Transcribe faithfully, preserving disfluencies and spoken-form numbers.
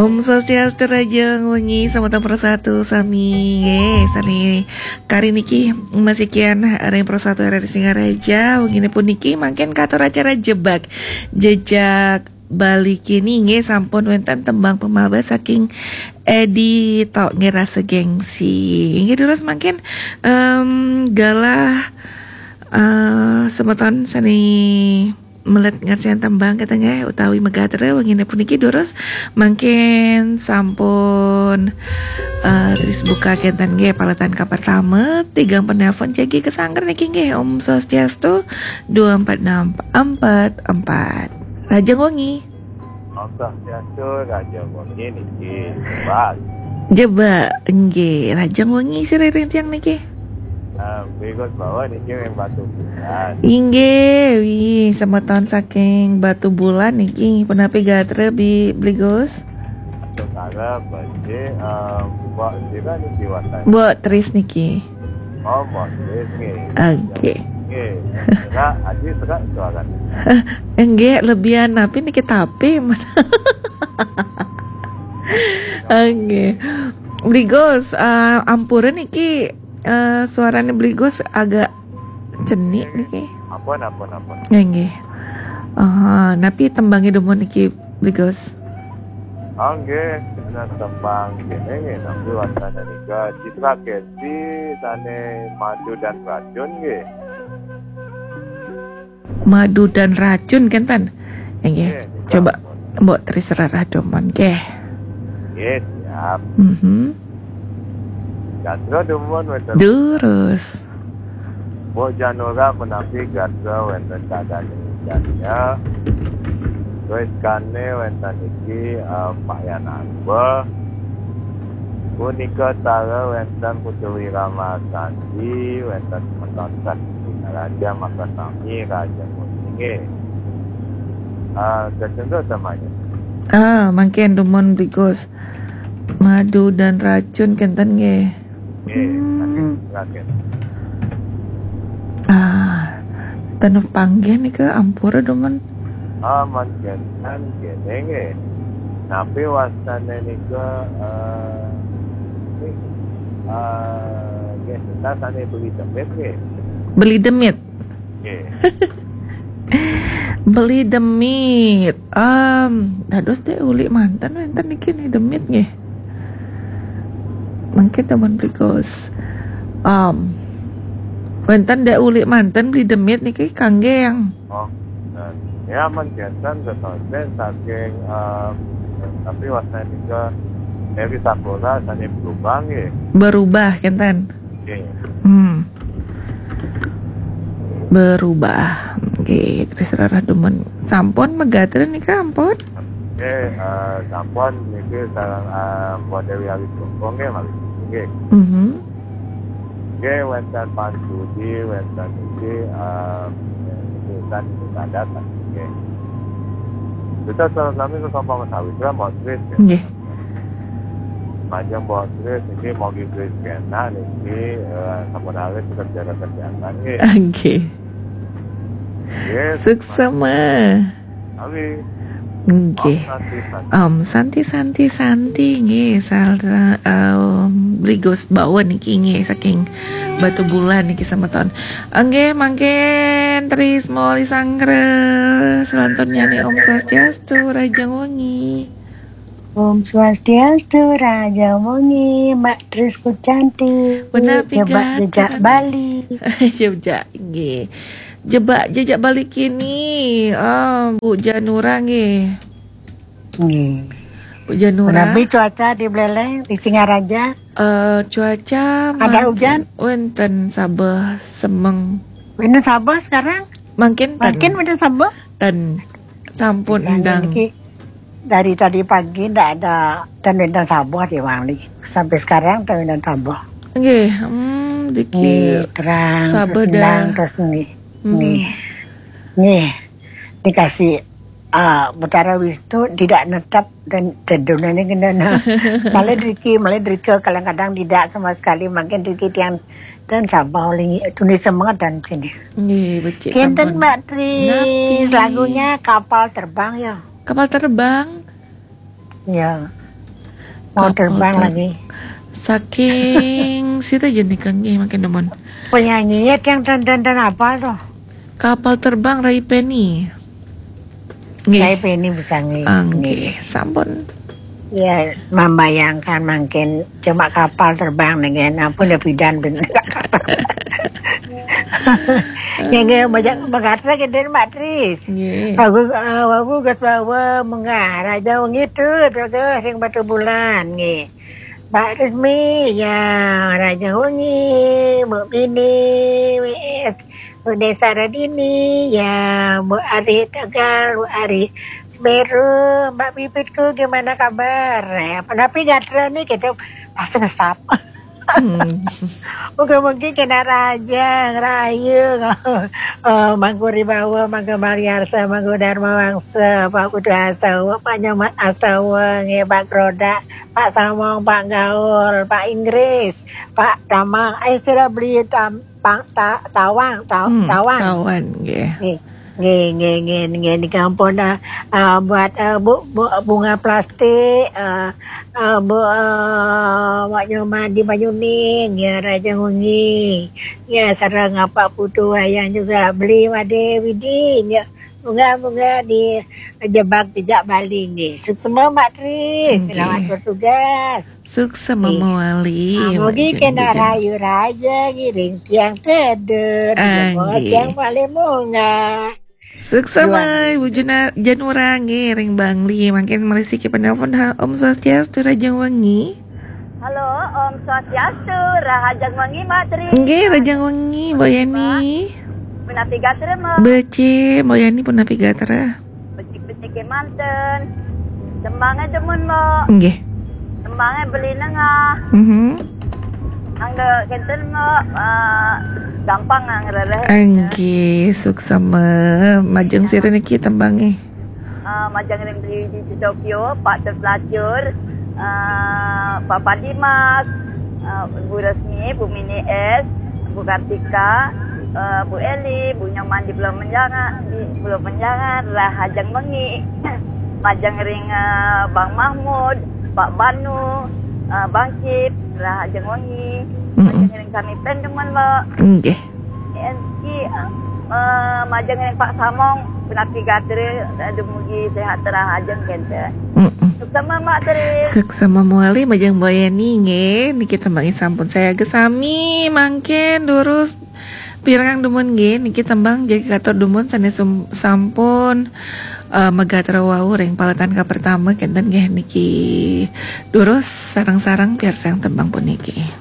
Om Swastiastu, rahajeng wengi, semeton Pro satu sami. Nggih, sami kari niki masih kian ring Pro satu R R I Singaraja. Wengine puniki mangkin katur acara Jebak Jejak Bali kini, nggih, sampun wenten tembang pemawas saking Edi Tok, nggih, Rasa Gengsi. Inggih, terus mangkin em, galah eh, semeton sane melet ngarsian tembang kenten nggih utawi megatre wengine puniki, durus mangkin sampun eh, terus buka kenten nggih paletan kapertama, tigang penelpon jagi kesangker niki, nggih. Om Swastiastu, dua empat enam empat empat. Rahajeng wengi. Om Swastiastu, rahajeng wengi niki. Jebak. Jebak, nggih. Rahajeng wengi sira ring tiang niki. Eh, Bli Gus Bawa niki ring Batubulan. Inggih, wih, semeton saking Batubulan niki. Punapi gatra, Bi-, Bli Gus? Atur sareng, Bli, eh, Mbok sira niki wastane? Mbok Tris niki. Oh, Mbok Tris nggih. Oke. Nggih. Serak, Aji serak suarane. Nggih, lebihan napi niki tapi. Oke. Bli Gus, eh, ampura niki, eh, suarane Bli Gus agak cenik niki. Ampun, ampun, ampun. Nggih, nggih. Aha, napi tembange dumun niki, Bli Gus? Ah, nggih, kena tembang kene nggih, napi wastane nika, Citra Keti sane Madu dan Racun nggih. Madu dan Racun kenten. Nggih, nggih, coba ampun. Mbok Tris rarah dumun nggih. Nggih, siap. Mhm. Gatra dumun wenten. Durus. Mbok Janura menawi gatra wenten kadane janya. Terus kane wenten iki, eh, Pak Yanarba. Punika tara wenten Putu Wirama Sandi, wenten semeton Sandi Raja, maka sami Raja Muninge. Ah, kacendol samanya. Ah, mangkin dumun Bli Gus. Madu dan Racun kenten nggih. Nggih, Hmm. Raden. Ah, ten panggih nika ampura dumun. Ah, mangkin kene nggih. Napi wastane nika, eh, nggih, eh, nggih, kita sane Beli Demit nggih. Beli Demit. Nggih. Beli Demit. Em, dados Dek Uli manten wenten niki nih Demit nggih. Mangkin dumun Bli Gus. Em, wenten Dek Uli manten Beli Demit niki kangge yang. Oh, nah, ya, mangkin kenten saking, em, tapi wastane nika Eri Sakura sane berubah nggih. Berubah kenten. Nggih. Hmm. Berubah. Nggih, Tris rarah dumun. Sampun megatra nika ampun? Nggih, eh, sampun niki sareng, eh, Mbok Dewi Awi Joko nggih, malih nggih. Mhm. Nggih, wenten Pak Sudi, wenten niki, eh, niki kan niki sadar kan nggih. Kita salam sami ke Kompang Sawitra, Mbok Tris, ya. Nggih. Majeng Mbok Tris niki, mogi Tris kena niki, eh, sampun alit kerja kesehatan nggih. Nggih. Nggih. Suksema. Sami. Nggih. Om Santi, Santi. Om Santi, Santi, Santi, nggih. Sareng, em, Bli Gus Bawa niki nggih saking Batubulan niki semeton. Nggih, mangkin Tris Moli Sanggra. Selanturnya nih Om Swastiastu, rahajeng wengi. Om Swastiastu, rahajeng wengi, Mbak Tris Kucanti. Punapi gatra. Jebak Jejak Bali. Jebak, nggih. Jebak Jejak Bali kini, ah, Bu Janura nggih. Nggih. Bu Janura. Punapi cuaca di Buleleng, di Singaraja? Eh, cuaca ada mangkin hujan? Wenten sabeh semeng. Wenten sabeh sekarang? Mangkin ten. Mangkin wenten sabeh? Ten. Sampun endang. Niki dari tadi pagi ndak ada ten wenten sabeh di Bali. Sampai sekarang ten wenten sabeh. Nggih, hmm, diki nggih, terang, sabeh terus endang, dah. Terus nggih. Hmm. Nggih. Nggih. Dikasih, ah, Betara Wistu tidak netap dan tedunane kena. Malah driki, malah drika kadang-kadang tidak sama sekali. Mangkin driki tiang ten sabeh oleh tuni semangat dan sini. Nggih, becik. Kenten sampun. Mbak Tris, napi? Lagunya Kapal Terbang ya. Kapal Terbang? Ya. Mau terbang lagi. Saking sida jenis kangge makin demen. Penyanyinya yang dan dan dan apa tuh? Kapal terbang Ray Penny. Nggih. Ray Penny bisa nggih. Ah, nggih. Sampun. Ya, membayangkan mungkin cuma kapal terbang dengan ampun ya bidan ben kapal. Ya nggih, banyak banget lagi dari Mbak Tris. Nggih. Aku, eh, aku gas bawa mengarah jauh gitu, terus sing batu bulan nggih. Mbak Resmi, ya, Raja Wengi, Mbak Bini, W S, Mbak Desa Radini, ya, Mbak Ari Tegal, Mbak Ari Semeru, Mbak Bibitku, gimana kabar? Ya, tapi gatra nih kita pas ngesap. Hmm. Moga-moga kena raja, rayu, eh, Mangku Ribawa, Mangku Mariarsa, Mangku Dharma Wangsa, Pak Putu Asawa, Pak Nyomat Asawa, nggih, Pak Krodak, Pak Samong, Pak Gaul, Pak Inggris, Pak Tamang, eh, sudah beli tam, pang, ta, tawang, ta, Hmm, tawang. Tawan, nggih. Nggih, nggih, nggih, nggih, nggih, niki ampun, eh, eh, buat, eh, bu, bu, bunga plastik, eh, eh, bu, eh, Wak Nyoman di Banyuning, ya, Raja Wengi. Ya, sareng Pak Putu Wayang juga beli Wade Widi, ya. Moga-moga di jebak jejak Bali nggih. Suksma Mbak Tri, Nggih. Selamat bertugas. Suksma Nggih. Mawali, Ah, mugi Mbak kena Jen. Rayu raja ngiring tiang teder, Ah, jebak nggih. Tiang paling munga. Suksma, Juang. Ibu Juna-, Janura nggih ring Bangli. Mangkin malih siki penelpon ha, Om Swastiastu, Rahajeng Wengi. Halo, Om Swastiastu, Rahajeng Wengi, Mbak Tri. Nggih, Rahajeng Wengi, Mbok Yani. Punapi gatra, Mbok? Becik, Mbok Yani punapi gatra. Becik-becik manten. Tembangnya demen, Mbok. Nggih. Tembangnya beli nengah. Mhm. Angga kenten, Mbok, eh, gampang nang rereh. Nggih, suksma. Majeng sira niki tembangnya. Eh, majeng ring Tri Widi Tokyo, Pak Terpelacur, eh, Papa Dimas, eh, Bu Resmi, Bu Mini S, Bu Kartika, eh, Bu Eli, Bu Nyoman di Pulau Menjangan, di Pulau Menjangan, Rahajeng Wengi. Majeng ring, eh, Bang Mahmud, Pak Banu, eh, Bang Cip, Rahajeng Wengi. Mm-mm. Majeng ring kami pen demen, Mbok. Nggih. Enki, eh, majeng ring Pak Samong, punapi gatra, eh, dumugi sehat rahajeng kenten. Mm-mm. Suksma Mbak Tri. Suksma mawali majeng Mbok Yani nggih. Niki tembangnya sampun saya gesami mangkin durus pirengang dumun nggih. Niki tembang jagi katur dumun sanes sum-, sampun, eh, magatra wau ring paletan ka pertama kenten nggih niki. Durus sareng-sareng piarsayang tembang puniki.